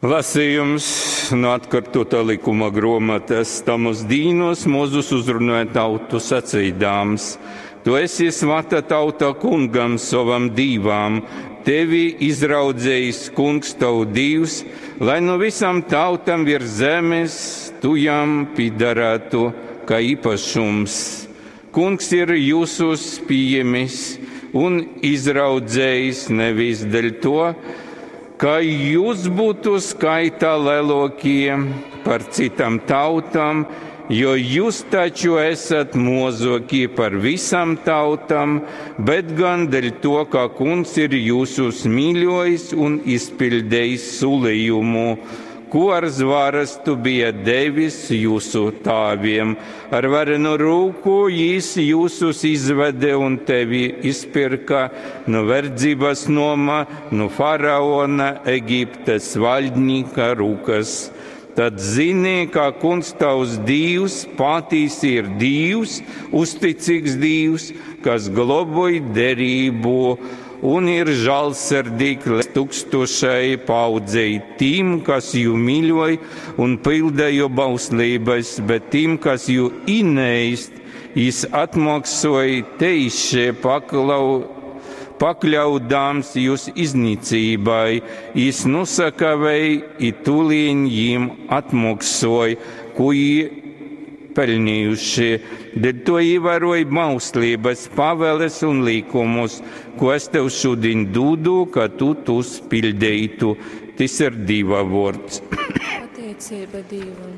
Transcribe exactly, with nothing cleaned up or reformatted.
Lasījums no atkārtotā likuma grāmatas. Tamos dīnos Mozus uzrunāja tautu sacīdāms: Tu esi svata tauta kungam sovam dīvam, tevi izraudzējis kungs tavu dīvs, lai no visām tautam virs zemes tu jam pidarētu kā īpašums. Kungs ir jūsus pieņemis un izraudzējis nevis dēļ to, ka jūs būtu skaitā lielākie par citām tautām, jo jūs taču esat mozokie par visām tautām, bet gan dēļ to, ka kungs ir jūsus mīļojis un izpildījis solījumu, ko ar zvārastu bija devis jūsu tēviem. Ar varenu rūku jis jūsus izvede un tevi izpirka no verdzības noma, no faraona Egiptes valdnika rūkas. Tad zini, ka kungs tavs Dīvs patiesi ir Dīvs, uzticīgs Dīvs, kas globoj derību un ir žēlsirdīgs līdz tūkstošai paudzei tiem, kas jū mīļoja un pilda jo bauslības, bet tiem, kas jū ineist, jis atmaksoja teiši paklau, pakļaudams jūs iznīcībai, jis nusakavēja i tūlīņ jim atmaksoja, ko jī pelnījuši. Dēļ to ievēroja bauslības, pavēles un likumus, ko es tev šodien dodu, ka tu tos pildītu. Tas ir Dieva vārds. Pateicība Dievam.